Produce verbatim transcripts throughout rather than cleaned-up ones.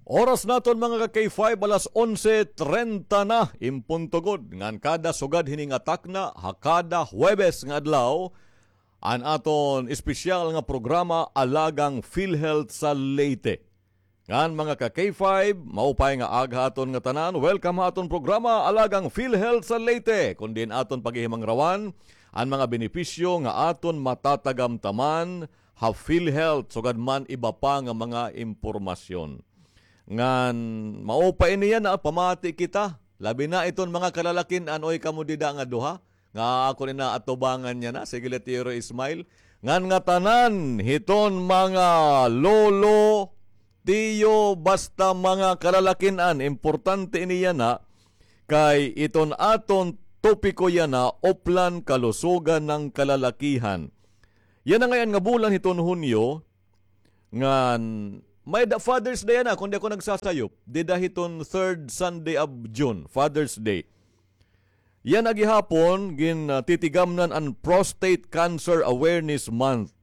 Oras naton, mga ka-K five, alas onse treinta na, in punto gud. Ngan kada sugad hini nga takna, ha kada Huwebes nga adlaw, an aton espesyal nga programa, Alagang PhilHealth sa Leyte. Ngan, mga ka-K five, maupay nga aga ha aton ngatanan. Welcome ha aton programa, Alagang PhilHealth sa Leyte, kon diin aton paghihimangrawan an mga benepisyo nga aton matatagamtaman ha PhilHealth, sugad man iba pa nga mga impormasyon. Ngan, maupay ini yana, pamati kita. Labi na iton mga kalalakin-an, oy, kamo dida nga duha nga akon inaatubangan yana, sige la, Tiro Ismail. Ngan ngatanan hiton mga lolo, tiyo, basta mga kalalakin-an, importante ini yana, kay iton aton topiko yana, uplan kalusugan ng kalalakihan. Yana ngay-an nga bulan hiton Hunyo, ngan may-ada Father's Day yana, kon di ako nagsasayop. Dida hiton third Sunday of June, Father's Day. Yana gihapon, gin, ah, titigamnan an Prostate Cancer Awareness Month.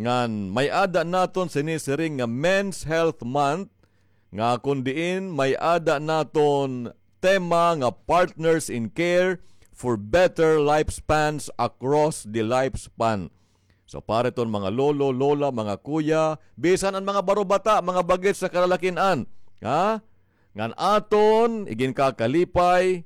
Ngan may-ada naton sinisiring nga Men's Health Month, nga kon diin may-ada naton tema nga Partners in Care for Better Lifespans Across the Lifespan. So, para iton mga lolo, lola, mga kuya, bisan an mga barobata, mga bagets sa kalalakin-an, ha? Ngan aton iginkakalipay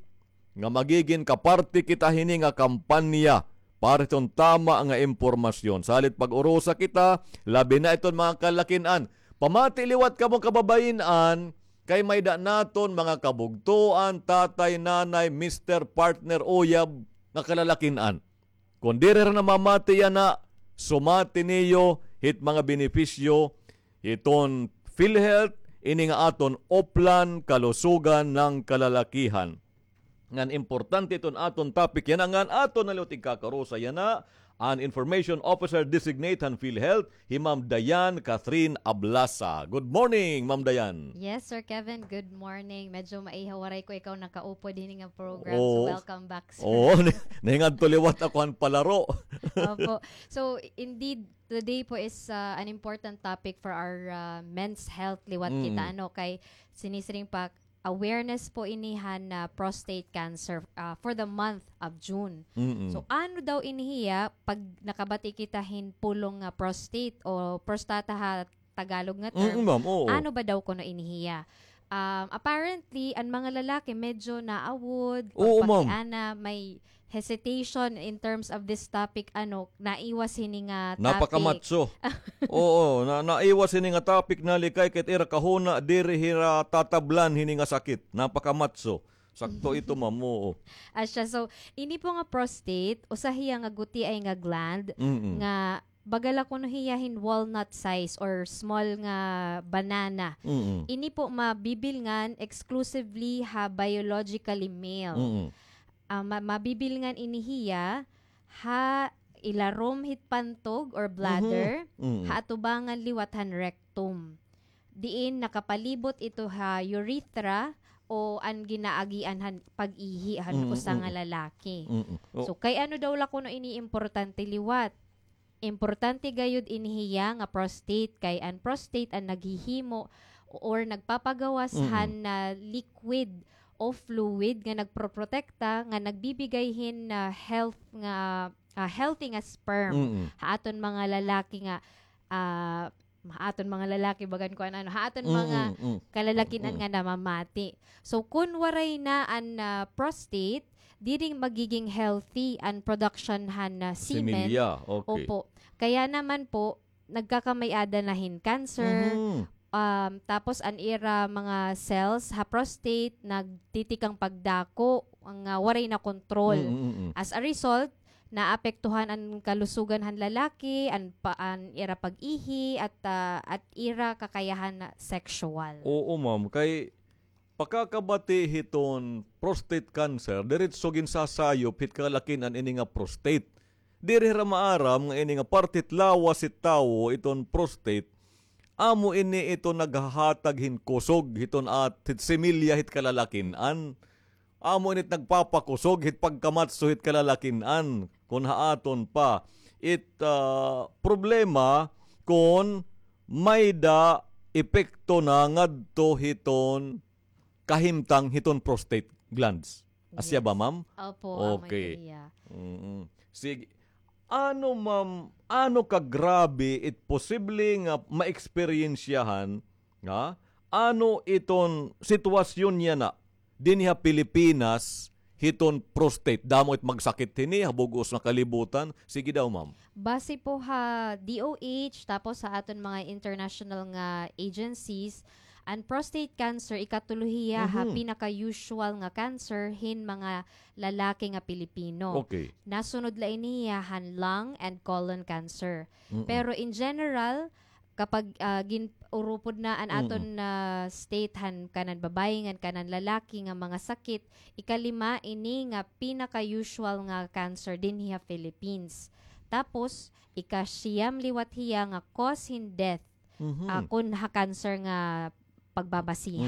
nga magigin kaparte kita hini nga kampanya para hiton tama nga impormasyon. Salit pag-urusa kita, labi na iton mga kalalakin-an. Pamati liwat kamo kababayin-an, kay may-ada naton mga kabugtoan, tatay, nanay, mister, partner, uyab, nga kalalakin-an. Kon diri hira namamati yana, sumati niyo hit mga benepisyo hiton PhilHealth, ini nga aton uplan kalusugan ng kalalakihan. Ngan importante iton aton topic yana, ngan aton na liwat igkakarusa yana, an Information Officer Designate han PhilHealth, hi Ma'am Diane Catherine Ablasa. Good morning, Ma'am Diane. Yes, Sir Kevin, good morning. Medyo maiha waray ko ikaw nakaupod hini nga program. So, oo, welcome back, sir. Oo, ni-, nahingadto liwat ako han palaro. Opo. So, indeed, today po is, uh, an important topic for our, uh, men's health liwat kita, ano, kay sinisiring pa, awareness po ini han, ah, prostate cancer, ah, for the month of June. Mm-mm. So, ano daw ini hiya pag nakabati kita hin pulong nga prostate o prostata ha Tagalog nga term? Mm, ma'am, oo. Ano ba daw kuno ini hiya? Um, apparently, an mga lalaki medyo naawod, oo, ma'am, pagpakiana, may hesitation in terms of this topic, ano, naiwas hini nga topic. Napaka-macho. Oo, na, naiwas hini nga topic, nalikay kay it ira kahuna, diri hira tatablan hini nga sakit. Napaka-macho. Sakto ito, ma'am, oo. Asya, so, ini po nga prostate, usa hiya nga gutiay nga gland, mm-mm, nga baga la kuno hiya hin walnut size or small nga banana. Mm-mm. Ini po mabibilngan exclusively ha biologically male. Mm-mm. Ah, ma-, mabibilngan ini hiya ha ilarom hit pantog or bladder, mhm, mm, ha atubangan liwat han rectum. Diin nakapalibot ito ha urethra o an ginaagian han pag-ihi han, mm, usa nga, mm, lalaki. Mm, mm. Oh. So, kay ano daw la kuno ini importante liwat? Importante gayud ini hiya nga prostate, kay an prostate an naghihimo or nagpapagawas, mm-mm, han, ah, liquid o fluid nga nagproprotekta, nga nagbibigay hin, ah, health nga, ah, healthy nga sperm, mm-mm, ha aton mga lalaki nga, ah, ha aton mga lalaki, bagan ko an ano, ha aton, mm-mm, mga, mm, kalalakin-an, mm, nga namamati. So, kun waray na an, ah, prostate, diri magiging healthy an production han, ah, semen. Similya, okay. Opo. Kaya naman po, nagkakamay-ada na hin cancer, mhm, um, tapos an ira mga cells ha prostate nagtitikang pagdako nga waray na kontrol. Mm, mm, mm. As a result, naapektuhan an kalusugan han lalaki, an pa-, an ira pag-ihi, at, ah, at ira kakayahan na sexual. Oo, ma'am. Kay pakakabati hiton prostate cancer, diretso ginsasayop hit kalalakin-an ini nga prostate. Diri hira maaram nga ini nga parte hit lawas hit tawo, iton prostate, amo ini ito naghahatag hin kusog hiton at-, hit similya hit kalalakin-an. Amo ini it nagpapakusog hit pagkamatso hit kalalakin-an. Kon ha aton pa, it, ah, problema kon may-ada epekto na ngadto hiton kahimtang hiton prostate glands. Asya ba, ma'am? Opo, amo ito iya. Mm. Sige. Ano, ma'am, ano kagrabe it posible nga maeksperiensyahan, ha? Ano iton sitwasyon niya na dinhi ha Pilipinas hiton prostate? Damo it magsakit hini ha bug-os nga kalibutan. Sige daw, ma'am. Base po ha D O H, tapos sa aton mga international nga agencies, an prostate cancer, ikatulo hiya ha pinaka-usual nga cancer hin mga lalaki nga Pilipino. Okay. Nasunod la ini hiya han lung and colon cancer. Pero in general, kapag, ah, gin-, urupod na an aton, ah, state han kanan babayi ngan kanan lalaki nga mga sakit, ikalima ini nga pinaka-usual nga cancer dinhi ha Philippines. Tapos, ikasiyam liwat hiya nga cause hin death, ah, kon ha cancer nga pagbabasihan.